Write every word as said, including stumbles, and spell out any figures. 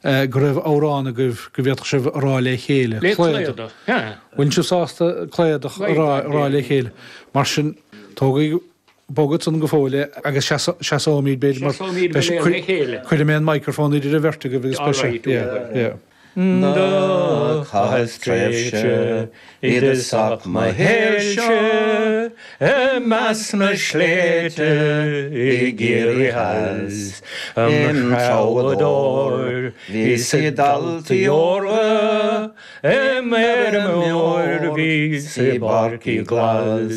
Go raibh amhrán agaibh go bhféadfadh sibh a rá le chéile. Le Cladach. Bhfuil sibh sásta Cladach a rá le chéile. Mar sin tógaigí bogad san go fóill agus seasóimid b'fhéidir mar cuirfidh mé an microphone idir an bheirt agaibh agus beidh sé. Do chaitheas tréimhse i dtosach mo shaoilse i measc na sléibhte i gCiarraí Theas. Im threabhadóir bhíos i dtaltaí órga, im fheirmeoir bhíos i bpáircí glas.